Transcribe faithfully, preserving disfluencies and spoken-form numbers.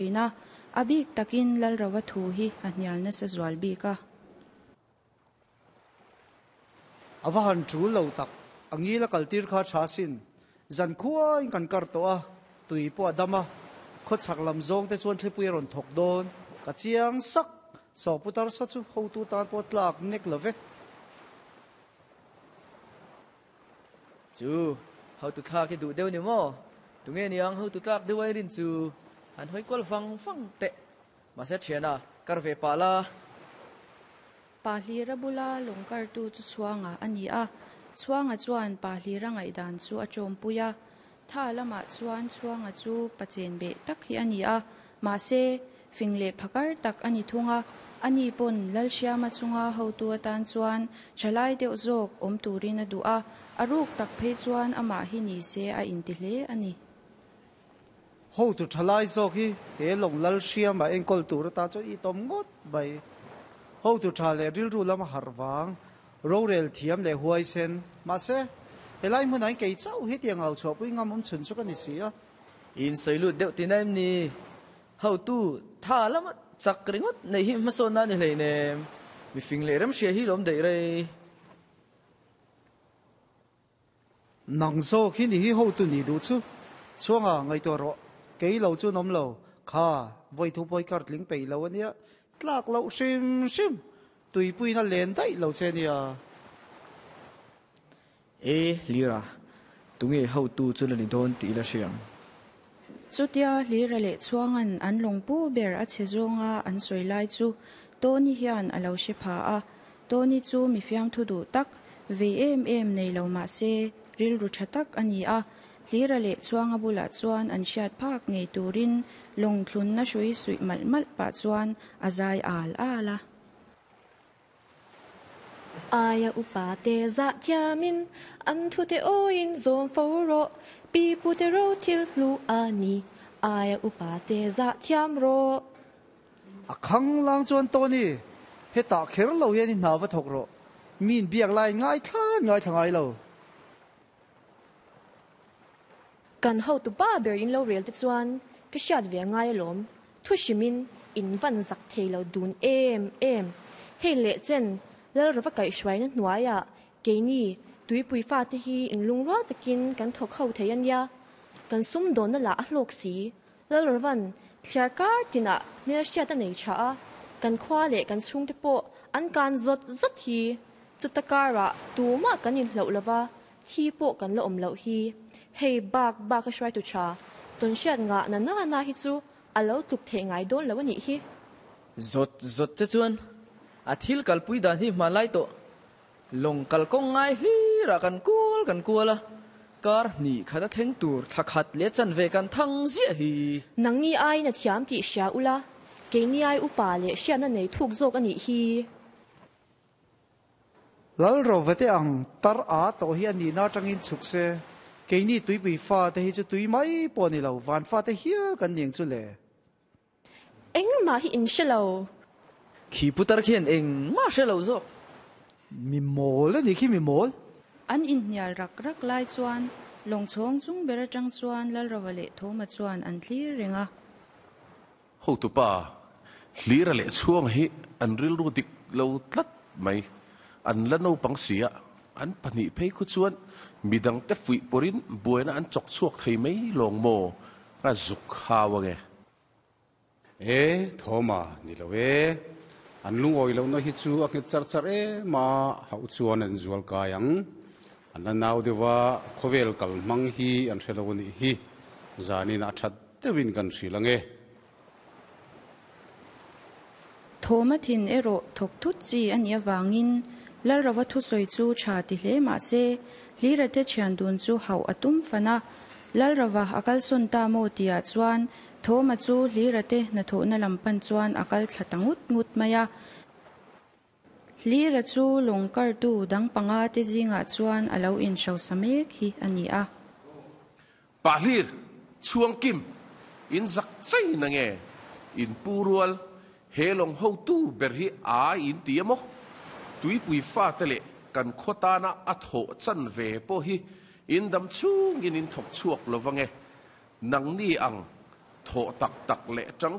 Thin a, a bik takin Lalrova thu hi a hnial nasa zual bik a. A va han tul lo tak, a ngil a kal tir kha tha sin. Zan khuain kan kar tawh a, tui pawh a dam a, khawchhak lam zawng te chuan thlipui a rawn thawk dawn. Ka chiang sak, saw putar sa chu hotu tan pawh tlak nek lo ve. Chu, hotu thlak hi duh deuh ni maw? Tunge niang hotu tlak deuh ai rin chu han hawi kual vang vang teh. Mahse thiana, kar ve pah la. Pa Hlira bula lawng kartu chu Chhuanga a ni a. Chhuanga chuan Pa Hlira ngaihdan chu a tawmpui a. Tha lamah chuan Chhuanga chu pachen beh tak hi a ni a. Mahse, fing leh phakar tak a ni thung a. Ani pawn Lalhriama chunga hotu atan chuan thalai deuh zawk awm turin a duh a. A ruk tak phei chuan amah hi ni se a inti hle a ni. Hotu thalai zawk hi he lawng Lalhriama enkawl tur atan chuan i tawm ngawt mai. Hotu tha leh rilru lama harh vang, rorel thiam leh huaisen. Mahse, helai hmunah hian kei chauh hi tiang au chhuahpui ngam awm chhun chu ka ni si a. In sawi lut deuh tina em ni? Hotu tha lama chak ringawt neih hi hmasawnna a ni hleinem. Mifing leh remhria hi lawm daih rei. Nang zawk hi ni hi hotu ni duh chu. Chhuanga ngaihtuah rawh. Kei lo chu an awm lo. Kha, vawi thu pawi kar tling peih lo a nia. Tlak loh hrim hrim. Tuipuiin a len daih lo che nia. E, Hlira, tunge hotu chu la ni dawn tih ila hria ang. Chutia Hlira leh Chhuanga'n an lawngpu ber a chhe zawnga an sawi lai chu Tony hian a lo hre pha a. Tony chu mi fiamthu duh tak, vei em em nei lo mah se rilru tha tak a ni a. Hlira leh Chhuanga bulah chuan an hriat phak ngei turin lawng thlunna hrui suih malh malh pah chuan a zai al al a. Aia upa te zah thiamin an thute awiin zawm fo rawh, pi pute ro thil hlu a ni, aia upa te zah thiam rawh. A khang lang chuan Tony, hetah kher lo hian i hna va thawk rawh, mi inbiak lai ngaithla ngaithla ngai lo. Kan hotu pa ber in lo rel te chuan ka hriat ve ngai alawm, thu hrimin in van zak thei lo dun em em. Hei leh chen Lalrova kaihhruaina hnuaiah keini tuipui fate hi in lungrual takin kan thawk ho thei a nia. Kan sumdawnna lah a hlawk si. Lalrovan thliar kar tinah hmelhriat a nei tha a, kan khua leh kan chhungte pawh an kan zawt zawt hi. Chuta karah tumah kan inhloh lova, thi pawh kan la awm loh hi. Hei bak bak a hruaitu tha, tawnhriat ngah na na na hi chu a lo tluk theih ngai dawn lo a nih hi. Zawt zawt che chuan a thil kalpui dan hi hmanlai tawh. Lawng kalkawng ngai hlirah kan kual kan kual a, kar hnih khat a thleng tur thla khat leh chanve kan thang ziah hi. Nangni aiin a thiam tih hria ula, keini ai upa leh hriatna nei thuk zawk a nih hi. Lalrova te ang tar a tawh hi a nihna atangin chhuk se, keini tuipui fate hi chu tui mai pawh a ni lo, van fate hial kan ni ang chu le. Engmah hi in hre lo. Khi putar khian engmah hre lo zawk. Mi mawl a ni khi mi mawl. An inhnial rak rak lai chuan lawngchhawng chung ber atang chuan Lalrova leh Thawma chuan an thlir reng a. Hotupa, Hlira leh Chhuanga hi an rilru dik lo tlat mai. An la naupang si a, an pahnih phei khu chuan midangte fuih pawrin buaina an chawk chhuak thei mai lawng maw? Ka zuk hau ange. E, Thawma, ni lo e. An lungawi lohna hi chu a nghet char char em a, hauh chuan an zual kai ang. An la nau deuh a, khawvel kal hmang hi an hre lo a nih hi. Zanin a that deuhin kan hrilh ang e. Thawma thin erawh thawk thut chi a nih avangin Lalrova thusawi chu tha ti hle mah se, Hlirate thian dun chu hauh a tum fan a. Lalrova a kalsawn ta maw tihah chuan Thawma chu Hlirate hnathawhna lam pan chuan a kal thla ta ngut ngut mai a. Hlira chu lawng kartu dang panga te zingah chuan a lo inhrosa mek hi a ni a. Pa Hlir, Chhuang Kim, in zak chei na nge? In pu rual, he lawng hotu ber hi a in ti a maw? Tuipui fate leh kan khaw tana a thawh chan ve pawh hi in dam chhungin in thawk chhuak lo va nge? Nangni ang Thawh tak tak leh tang